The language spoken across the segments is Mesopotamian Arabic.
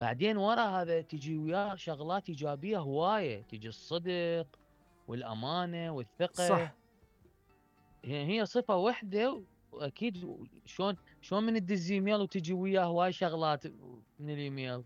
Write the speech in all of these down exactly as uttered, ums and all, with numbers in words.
بعدين ورا هذا تجي وياه شغلات ايجابيه هوايه، تجي الصدق والامانه والثقه. صح. هي هي صفه وحده، واكيد شلون شلون من تدز ايميل وتجي وياه هواي شغلات من الايميل.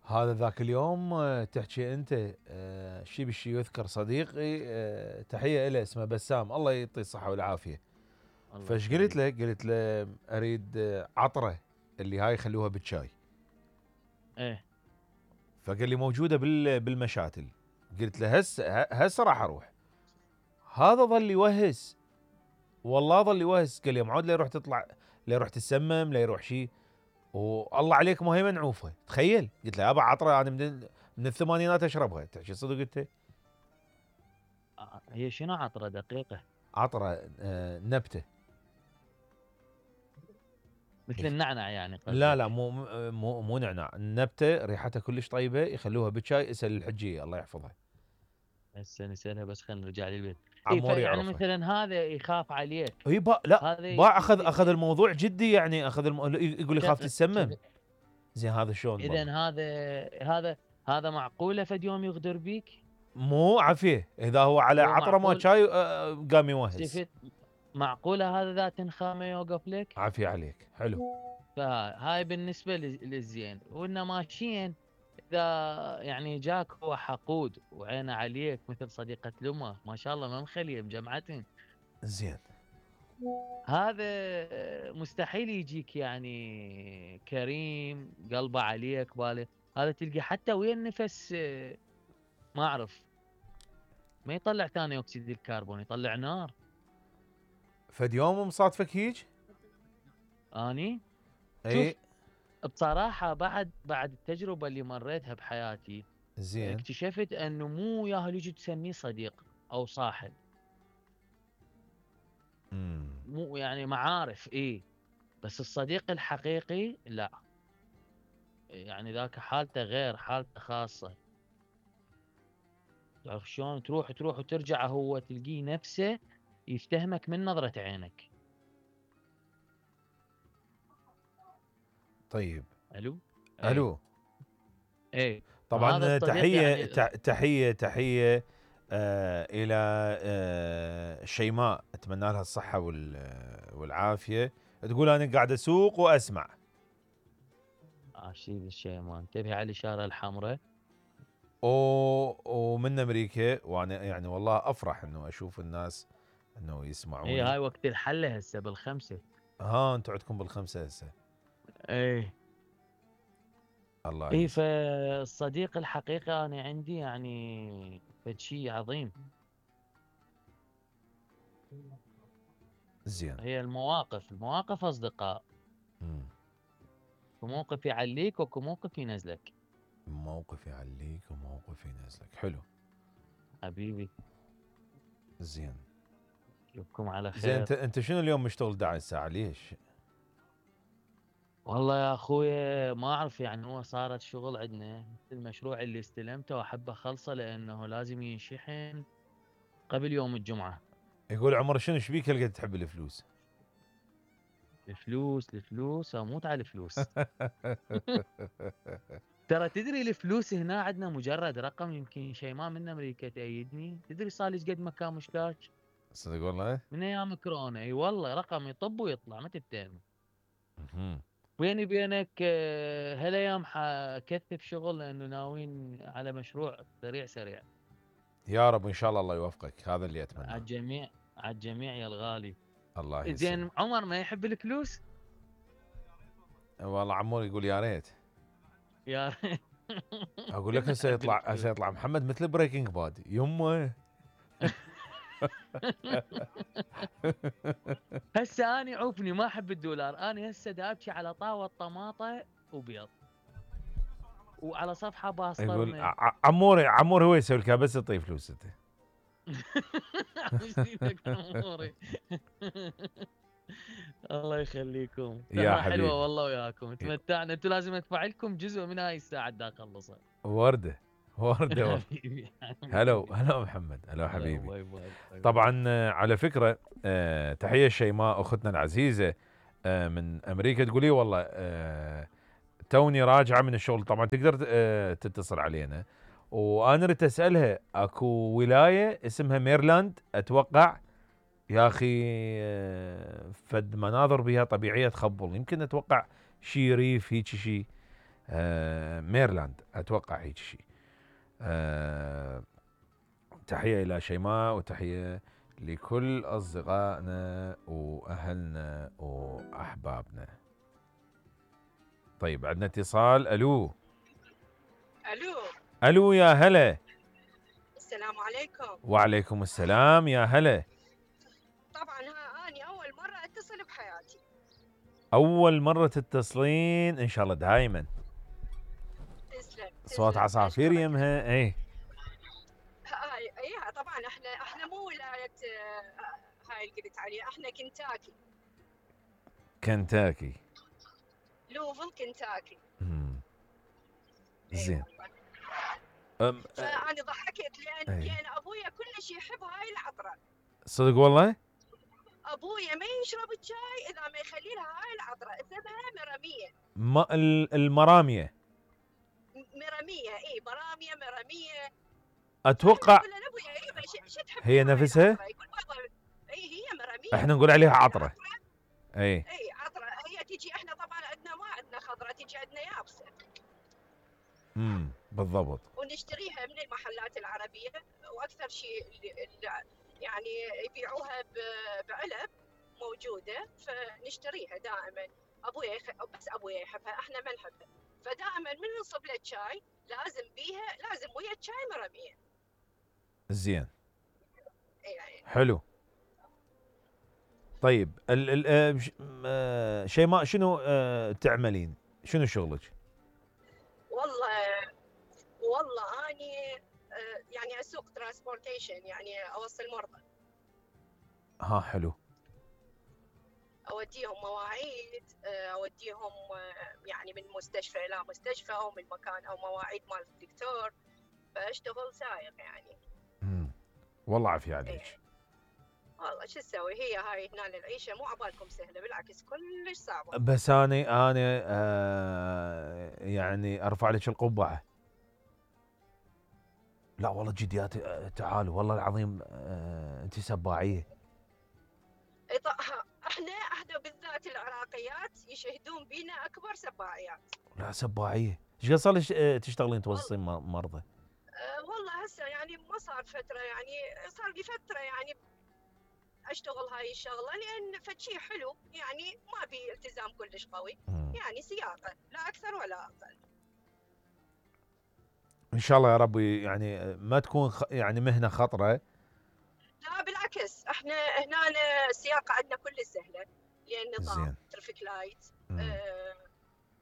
هذا ذاك اليوم آه، تحكي انت آه، شي بالشي يذكر صديقي آه، تحيه له اسمه بسام الله يعطيه الصحه والعافيه. الله فايش قلت يخليك. له؟ قلت له اريد آه، عطره اللي هاي يخلوها بالشاي. ايه. فقال لي موجوده بال بالمشاتل. قلت له هسه هسه راح اروح. هذا ظل يوهس، والله ظل يوهس. قال لي معود لا يروح تطلع، لا يروح تسمم، لا يروح شيء. والله عليك ما هي منعوفه. تخيل. قلت له ابا عطره انا من من الثمانينات اشربها. تحكي صدق انت؟ آه، هي شنو عطره دقيقه؟ عطره آه نبته. مثل النعنع يعني لا لا قصدك؟ مو مو مو نعناع. النبته ريحتها كلش طيبه، يخلوها بشاي. اسال الحجيه الله يحفظها. هسه نسألها بس خلينا نرجع للبيت. اي عمور فيعني يعرفها. مثلا هذا يخاف عليك. هي با لا هذا باع ي- اخذ اخذ ي- الموضوع جدي يعني. اخذ الم... يقول يخاف ي- تتسمم. كذا. زين هذا شلون اذا بالله؟ هذا هذا هذا معقوله فد يوم يغدر بيك؟ مو عافيه اذا هو على هو عطره ما معقول شاي آه، قام يوهس. شفت؟ معقوله هذا ذات نخامه يوقف لك؟ عافيه عليك. حلو. فهاي بالنسبه لل- للزين، وإنه ماشيين. اذا يعني جاك هو حقود وعينه عليك مثل صديقه لمه ما شاء الله ما مخليه مجمعتين، زين. هذا مستحيل يجيك يعني كريم قلبه عليك باله. هذا تلقى حتى ويا النفس آه، ما اعرف، ما يطلع ثاني اكسيد الكربون، يطلع نار. فد يوم مصادفك هيج؟ اني اي. شوف، بصراحة بعد بعد التجربة اللي مريتها بحياتي زين. اكتشفت انه مو ياهل يجي تسميه صديق او صاحب. امم. مو يعني معارف ايه، بس الصديق الحقيقي لا. يعني ذاك حالته غير، حالته خاصة. تعرف شلون تروح تروح وترجع هو تلقيه نفسه يفتهمك من نظرة عينك. طيب. الو. ايه. الو. ايه. فهذا طبعا الصديق تحيه يعني. ت- تحيه تحيه آه الى آه شيماء. اتمنى لها الصحه وال- والعافيه. تقول انا قاعد اسوق واسمع. عشيد الشيء ما انتبه على الاشارة الحمراء. و- ومن امريكا. وانا يعني والله افرح انه اشوف الناس انه ايه يسمعوني. هاي وقت الحلة هسه بالخمسة. ها انتم عندكم بالخمسه هسه. ايه. الله ايه يسلمك. فالصديق الحقيقي انا عندي يعني فد شيء عظيم. زين. هي المواقف، المواقف اصدقاء. مم. وموقف يعليك وكو موقف ينزلك. موقف يعليك وموقف ينزلك. حلو. حبيبي. زين. اشوفكم على زين خير. انت انت شنو اليوم مشتغل احد عشر ساعه ليش؟ والله يا اخويا ما اعرف، يعني هو صارت شغل عندنا المشروع اللي استلمته واحب اخلصه لانه لازم ينشحن قبل يوم الجمعة. يقول عمر شنو ايش بيك هالقد تحب الفلوس؟ الفلوس الفلوس اموت على الفلوس. ترى تدري الفلوس هنا عندنا مجرد رقم، يمكن شيء ما من امريكا تأيدني. تدري صار لي قد مكان مشتاق صدق والله. من ايام كورونا. اي والله رقم يطب ويطلع ما تتهم. مهم. بيني بينك آه، هالايام حكثف شغل لانه ناويين على مشروع سريع سريع. يا رب ان شاء الله الله يوفقك. هذا اللي على اتمناه. الجميع، على الجميع يا الغالي. الله زين يسلمك. عمر ما يحب الفلوس؟ والله عمور يقول يا ريت. يا اقول لك كلنا هسه نحب يطلع الفلوس. هسه يطلع محمد مثل بريكنج باد يمه. هسه اني عوفني ما احب الدولار، اني هسه دابكي على طاوه طماطه وبيض وعلى صفحه يقول باصطرمه. ع- عمور عمور هو يسوي لك بس يعطيه فلوس انت. مش دينك اموري. الله يخليكم، يا سهره حلوه حبيبي. والله وياكم، تمتعنا. انتم لازم ادفع لكم جزء من هاي الساعه دا اخلصها. ورده ورده ورده. حبيبي هلا حبيبي. هلا محمد. هلا هلا حبيبي. باي باي باي باي. طبعا آه، على فكره آه، تحيه شيماء اختنا العزيزه آه، من امريكا. تقولي والله آه، توني راجعه من الشغل، طبعا تقدر آه، تتصل علينا، وانا اريد اسالها اكو ولايه اسمها ميرلاند اتوقع. يا اخي آه، فد مناظر بها طبيعيه تخبل، يمكن اتوقع شي ريف هيك شي. آه، ميرلاند اتوقع هيك شي. آه، تحيه الى شيماء وتحيه لكل اصدقائنا واهلنا واحبابنا. طيب عندنا اتصال. الو الو الو يا هلا. السلام عليكم. وعليكم السلام يا هلا. طبعا ها اني اول مره اتصل بحياتي. اول مره تتصلين؟ ان شاء الله دائما. تسلم صوت تسلم، عصافير أشكرك. يمها. اي هاي اي طبعا احنا احنا مو ولايه آه، هاي اللي قلت عليها، احنا كنتاكي. كنتاكي. لوفل كنتاكي. مم. اي زين. والله. أم أ- فانا ضحكت لان أي. لان ابويا كلش يحب هاي العطره. صدق والله. ابويا ما يشرب الشاي اذا ما يخلي لها هاي العطره، اسمها مراميه. ما ال- المراميه مراميه اي مراميه مراميه. اتوقع اقول له ابويا اي شو شو تحب هي هاي نفسها؟ العطرة؟ يقول بابا اي هي مراميه. احنا نقول عليها عطره. اي اي عطره هي تجي، احنا طبعا عندنا ما عندنا خضره، تجي عندنا يابسه. امم بالضبط. ونشتريها من المحلات العربيه، واكثر شيء اللي اللي يعني يبيعوها ب- بعلب موجوده، فنشتريها دائما. ابويا يخ... بس ابويا يحبها، احنا ما نحبها. فدائما من نصب له شاي لازم بيها، لازم ويا الشاي مرميه. زين. يعني حلو. طيب ال ال آه، ش- آه، شيماء شنو آه، تعملين؟ شنو شغلك؟ والله والله اني آه، يعني اسوق ترانسبورتيشن، يعني اوصل مرضى، ها حلو. اوديهم مواعيد، آه، اوديهم آه، يعني من مستشفى الى مستشفى او من مكان او مواعيد مال الدكتور، فاشتغل سايق يعني. مم. والله عافية عليك. إيه. والله شو تسوي، هي هاي هنا العيشه مو عبالكم سهله، بالعكس كلش صعبه. بس انا انا آه يعني ارفع لك القبعه. لا والله جديات آه، تعالوا والله العظيم آه انت سباعيه. إيه ط- ها، احنا احنا بالذات العراقيات يشهدون بينا اكبر سباعيات. لا سباعيه. ايش قد صار لك آه، تشتغلين والله توصلين م- مرضى؟ آه، والله هسه يعني ما صار فتره، يعني صار لي فتره يعني اشتغل هاي الشغله، لان فشي حلو يعني ما بي التزام كلش قوي، مم. يعني سياقه لا اكثر ولا اقل. ان شاء الله يا ربي يعني آه، ما تكون خ... يعني مهنه خطره. لا بالعكس، احنا هنا السياقه عندنا كل سهله، لان نظام زين. ترافيك لايت. مم. آه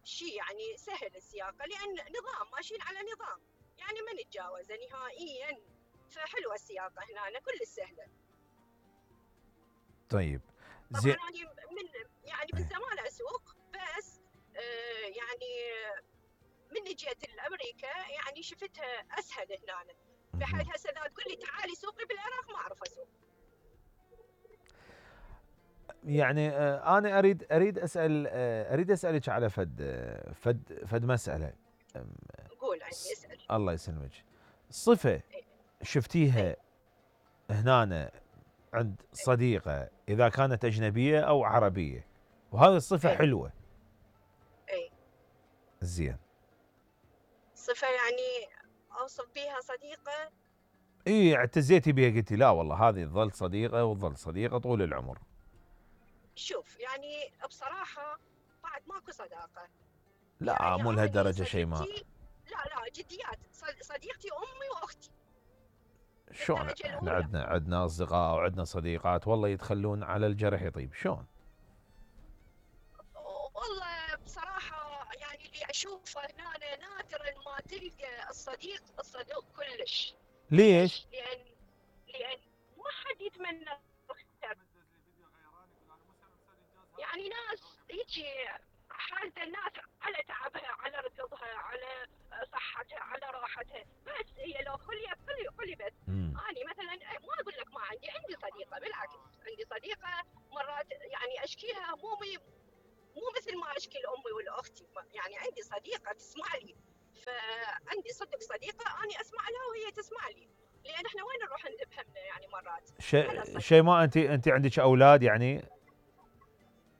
شيء يعني سهل السياقه، لان نظام ماشيين على نظام، يعني ما نتجاوزه نهائيا. فحلوه السياقه هنا كل سهله. طيب طبعا زين. انا من يعني من زمان اسوق، بس آه يعني من جيت لامريكا يعني شفتها اسهل هنا، بحيث هسه اذا تقول لي تعالي سوقي بالعراق ما اعرف اسوق. يعني آه انا اريد اريد اسال آه اريد اسالك على فد آه فد فد مساله. آم، قول عندي س- اسال. الله يسلمك. صفه إيه. شفتيها إيه. هنا عند صديقة إذا كانت أجنبية أو عربية وهذه الصفة إيه. حلوة. اي زين. صفه يعني اوصف بيها صديقه. إيه اعتزيتي بها قلتي لا والله هذه تظل صديقة وتظل صديقة طول العمر. شوف يعني بصراحه بعد ماكو صداقه. لا يعني مو اني لهالدرجة شيماء. صديقتي، لا لا جديات، صد- صديقتي امي واختي شلون بالدرجه احنا الاولى. عندنا عندنا أصدقاء وعندنا صديقات والله يتخلون على الجرح يطيب شلون؟ والله بصراحة يعني اللي أشوفه هنا نادرا ما تلقى الصديق الصدوق كلش. ليش؟ لأن لأن ما حد يتمنى الخير. يعني ناس هيجي حالة الناس على تعبها، على ركضها، على صحتها، على راحتها، بس هي لو خليت خلي خلي بس. مم. أنا مثلا ما أقول لك ما عندي، عندي صديقة، بالعكس عندي صديقة مرات يعني أشكيها همومي مو مثل ما اشكي لامي ولاختي، يعني عندي صديقه فعندي صدق صديقه اني اسمع لها وهي تسمع لي، لان احنا وين نروح نذب همنا يعني مرات. شيء شيء ما انت انت عندك اولاد يعني؟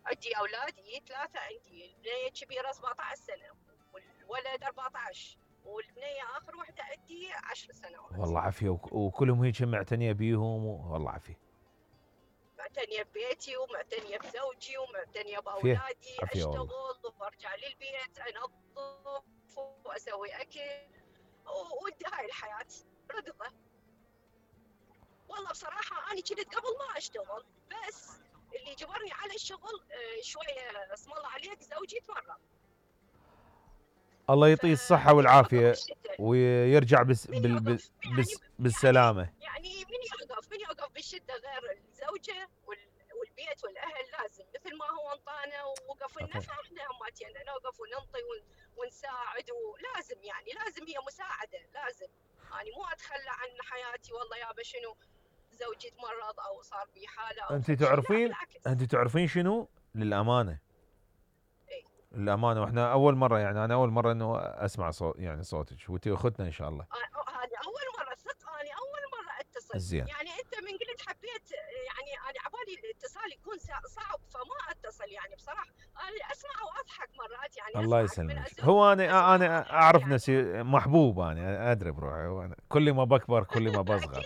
عندي اولادي ثلاثه، عندي البنيه الكبيره سبعطعش سنه والولد أربعطعش والبنيه اخر وحده عندي عشر سنوات. والله عافيه، وكلهم هيك معتنيه بيهم، والله عافيه. معتنيه ببيتي ومعتنيه بزوجي ومعتنيه باولادي، اشتغل وارجع للبيت انظف واسوي اكل وهاي الحياه رضا. والله بصراحه انا كنت قبل ما اشتغل، بس اللي جبرني على الشغل شويه اسم الله عليك زوجي تمرض. الله يعطيه الصحه والعافيه ويرجع بس بال بس يعني بالسلامه. يعني من يوقف من يوقف بالشده غير الزوجه والبيت والاهل، لازم مثل ما هو انطانا ووقف لنا فاحنا هماتنا نوقف وننطي ونساعد، ولازم يعني لازم هي مساعده، لازم يعني مو اتخلى عن حياتي والله يابا شنو زوجي تمرض او صار بي حاله او انت تعرفين انت تعرفين شنو للامانه؟ اي للامانه، واحنا اول مره يعني انا اول مره انه اسمع صوت يعني صوتك، وانت اختنا ان شاء الله. هذه اول مره صدق، انا اول مره اتصل. زين. يعني انت من قلت حبيت يعني انا عبالي الاتصال يكون صعب فما اتصل يعني بصراحه، انا اسمع واضحك مرات يعني. الله يسلمك. هو انا انا اعرف يعني. نفسي محبوب، انا ادري بروحي، وانا كل ما بكبر كل ما بصغر.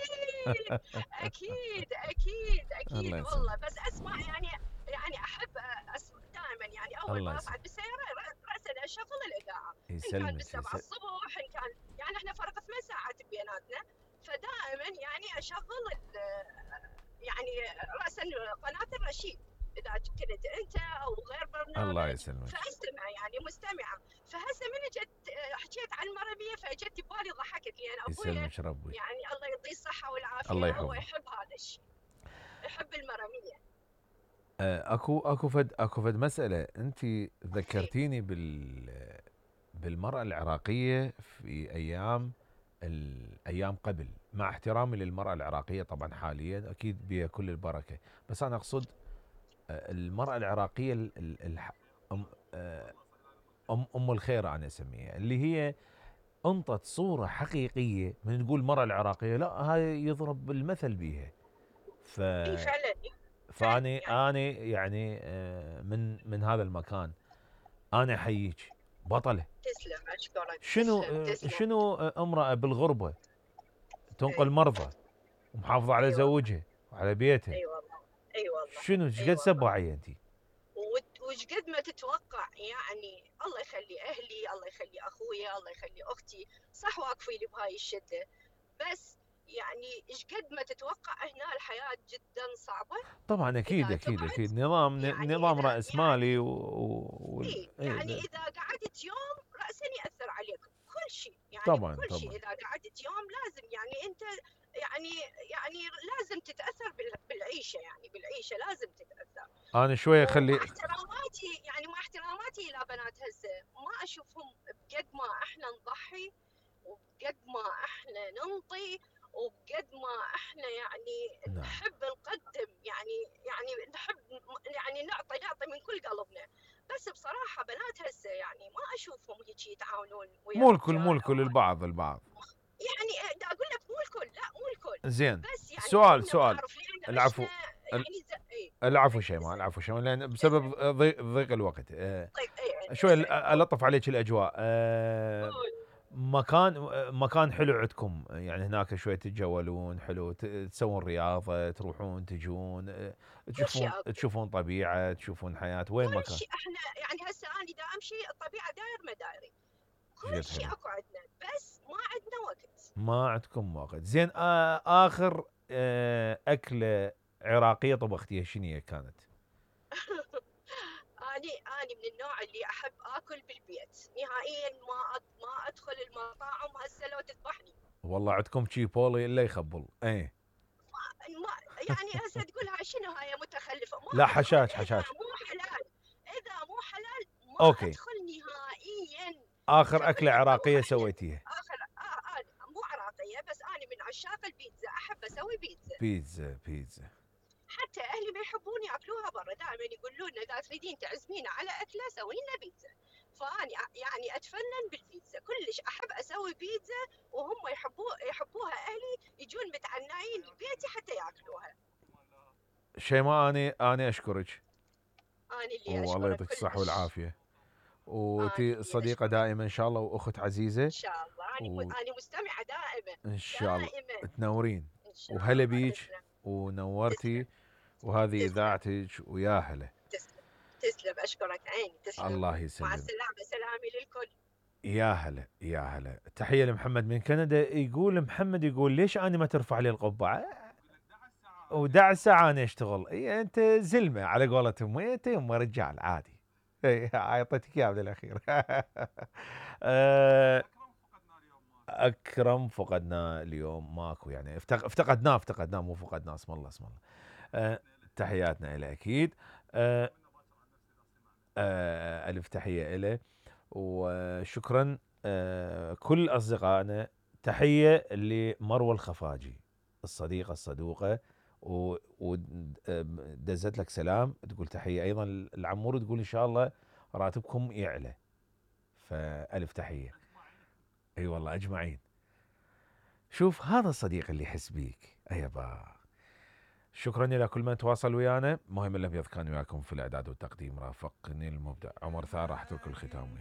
اكيد اكيد اكيد اكيد والله، بس اسمع يعني يعني احب اسمع دائما يعني اول ما اصعد بالسياره راسا اشغل الاذاعه، ان كان بالسبعه الصبح ان كان يعني احنا فرق ثمان ساعات بيناتنا، فدائما يعني اشغل يعني راسا قناه الرشيد اذا كنت انت او غير برنامج. الله يسلمك. فاستمع يعني مستمعه. فهسه من جت حكيت عن المرميه فاجت ببالي ضحكت لان ابوي يسلمك ربي يعني الله يعطيه الصحه والعافيه، الله يحفظه، هو يحب هذا الشيء، يحب المرميه. اكو اكو فد اكو فد مساله انت ذكرتيني بال بالمراه العراقيه في ايام الايام قبل، مع احترامي للمراه العراقيه طبعا حاليا اكيد بها كل البركه، بس انا اقصد المراه العراقيه ام ام ام الخير انا اسميها، اللي هي انطت صوره حقيقيه. من نقول المراه العراقيه لا هاي يضرب المثل بيها. ف فعلا فاني انا يعني من من هذا المكان انا احييك بطله. تسلم اشكرك. شنو تسلم. شنو امراه بالغربه تنقل مرضى ومحافظه على زوجها وعلى بيتها. اي والله اي والله. شنو ايش قد سباعيه انت؟ وش قد ما تتوقع يعني. الله يخلي اهلي، الله يخلي اخويا، الله يخلي اختي، صح واقفين لي بهاي الشده، بس يعني ايش قد ما تتوقع هنا الحياه جدا صعبه. طبعا اكيد اكيد اكيد نظام يعني نظام راس مالي يعني و... و... إيه يعني إيه اذا قعدت يوم راسا ياثر عليك كل شيء يعني. طبعا كل طبعا شيء اذا قعدت يوم لازم يعني انت يعني يعني لازم تتاثر بالعيشه، يعني بالعيشه لازم تتاثر. انا شويه خلي مع احتراماتي يعني مع احتراماتي الى بنات هسه ما اشوفهم بقد ما احنا نضحي وبقد ما احنا ننطي وبقد ما احنا يعني نعم. نحب نقدم يعني يعني نحب يعني نعطي نعطي من كل قلبنا، بس بصراحه بنات هسه يعني ما اشوفهم هيك يتعاونون ويا مو الكل مو الكل البعض البعض يعني دا اقول لك مو الكل، لا مو الكل زين. بس يعني سؤال سؤال العفو يعني العفو شيماء العفو شيماء لان بسبب ضيق ضيق الوقت أه شوي الطف عليك الاجواء. أه مكان مكان حلو عندكم يعني هناك شوي تتجولون حلو تسوون رياضه تروحون تجون تشوفون تشوفون طبيعه تشوفون حياه. وين مكان؟ كل شيء احنا يعني هسه انا دا امشي الطبيعه داير مدايري كل شيء اكو عندنا، بس ما عندنا وقت. ما عندكم وقت. زين آه اخر آه اكله عراقيه طبختيها شنو هي كانت؟ اني اني من النوع اللي احب اكل بالبيت نهائيا، ما ما ادخل المطاعم هسه لو تذبحني. والله عندكم شي بولي الا يخبل. اي ما يعني هسه تقول هاي شنو هاي متخلفه. ما لا حشاش حشاش. اذا مو حلال اذا مو حلال ما أوكي. ادخل نهائيا. اخر اكله عراقيه سويتيها؟ اخر آه آه مو عراقيه بس انا من عشاق البيتزا، احب اسوي بيتزا. بيتزا بيتزا حتى اهلي ما يحبون ياكلوها برا، دائما يقولون لنا اذا تريدين تعزمينا على اكله سوي لنا بيتزا. فاني يعني اتفنن بالبيتزا كلش احب اسوي اسوي بيتزا وهم يحبوه يحبوها اهلي يجون متعنعين لبيتي حتى ياكلوها. شيماء اني اني اشكرك، انا اللي والله اشكرك يعطيك الصحه كلش. والعافيه، انا وتي اللي صديقه اشكرك دائما ان شاء الله، واخت عزيزه ان شاء الله. انا و... انا مستمعه دائما ان شاء الله دائما تنورين، ان شاء وهلا الله. بيك تسلم ونورتي، تسلم وهذه تسلم اذاعتك، ويا هلا. تسلم تسلم اشكرك عيني تسلم. الله مع يسلم. السلامه، سلامي للكل. يا هلا يا هلا. تحيه لمحمد من كندا، يقول محمد يقول ليش انا ما ترفع لي القبعه؟ ودع ساعه انا اشتغل. اي انت زلمه على قولتهم، انت يما رجال عادي. اي اعطيتك اياه بالاخير. آه، اكرم فقدناه اليوم ماكو، يعني افتق- افتقدناه افتقدناه مو فقدناه، اسم الله اسم الله. آه، تحياتنا له اكيد. آه، آه، الف تحيه له وشكرا. آه، كل اصدقائنا. تحيه لمروه الخفاجي الصديقه الصدوقه، ودزت لك سلام، تقول تحيه ايضا العمور، تقول ان شاء الله راتبكم يعلى. فالف تحيه. اي والله اجمعين. شوف هذا الصديق اللي يحس بيك ايبا. شكرا الى كل من تواصل ويانا. مهم الابيض كان وياكم في الاعداد والتقديم، رافقني المبدع عمر ثار، راح اترك الختام وياكم.